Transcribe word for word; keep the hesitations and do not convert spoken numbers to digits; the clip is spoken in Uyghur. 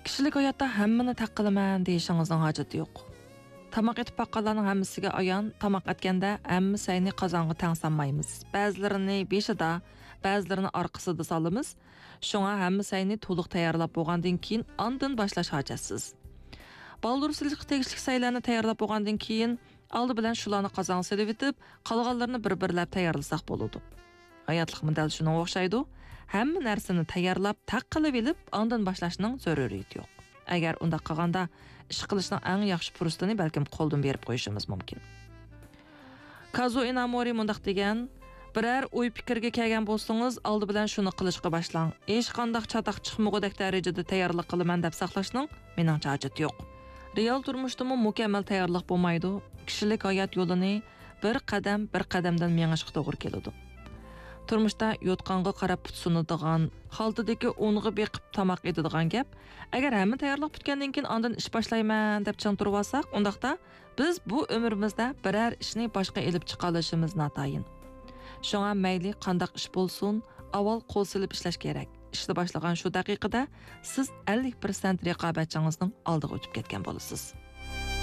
كىشىلىك ھاياتتا ھەممىنى تەق قىلىمەن دېيىشىڭىزنىڭ ھاجىتى يوق. تاماق ئېتىپ باققانلارنىڭ ھەممىسىگە ئايان، تاماق ئەتكەندە ھەممە سەينى قازانغا تەڭ سانمايمىز. بەزىلىرىنى بېشىدا، بەزىلىرىنى ئارقىسىدا سالىمىز. شۇڭا ھەممە سەينى تولۇق تەييارلاپ بولغاندىن كېيىن ئاندىن باشلاش ھاجەتسىز. بالدۇر سېلىشقا تېگىشلىك سەيلەرنى تەييارلاپ بولغاندىن كېيىن، ئالدى بىلەن شۇلارنى قازانغا سېلىۋېتىپ، قالغانلىرىنى بىر-بىرلەپ تەييارلىساق بولىدۇ. ھاياتلىقمۇ دەل شۇنىڭغا ئوخشايدۇ. ھەممە نەرسىنى تەييارلاپ، تەق قىلىۋېلىپ، ئاندىن باشلاشنىڭ زۆرۈرىيىتى يوق. ئەگەر ئۇنداق قىلغاندا، ئىش قىلىشنىڭ ئەڭ ياخشى پۇرسىتىنى بەلكىم قولدىن بېرىپ قويۇشىمىز مۇمكىن. كازۇ ئىنامورى مۇنداق دېگەن: «بىرەر ئوي پىكىرگە كەلگەن بولسىڭىز، ئالدى بىلەن شۇنى قىلىشقا باشلاڭ. ھېچقانداق چاتاق چىقمىغۇدەك دەرىجىدە تەييارلىق قىلىمەن دەپ ساقلاشنىڭ مېنىڭچە ھاجىتى يوق.» رېئال تۇرمۇشتىمۇ مۇكەممەل تەييارلىق بولمايدۇ. كىشىلىك ھايات يولىنى بىر قەدەم، بىر قەدەمدىن مېڭىشقا توغرا كېلىدۇ. تۇرمۇشتا يوتقانغا قاراپ پۇت سۇنىدىغان، خالتىدىكى ئۇنغا بېقىپ تاماق ئېتىدىغان گەپ. ئەگەر ھەممە تەييارلىق پۈتكەندىن كېيىن ئاندىن ئىش باشلايمەن دەپ چىڭ تۇرۇۋالساق، ئۇنداقتا بىز بۇ ئۆمرىمىزدە بىرەر ئىشنى باشقا ئېلىپ چىقالىشىمىز ناتايىن. شۇڭا مەيلى قانداق ئىش بولسۇن، ئاۋۋال قول سېلىپ ئىشلەش كېرەك. ئىشنى باشلىغان شۇ دەقىقىدە سىز ئەللىك پىرسەنت رىقابەتچىڭىزنىڭ ئالدىغا ئۆتۈپ كەتكەن بولىسىز.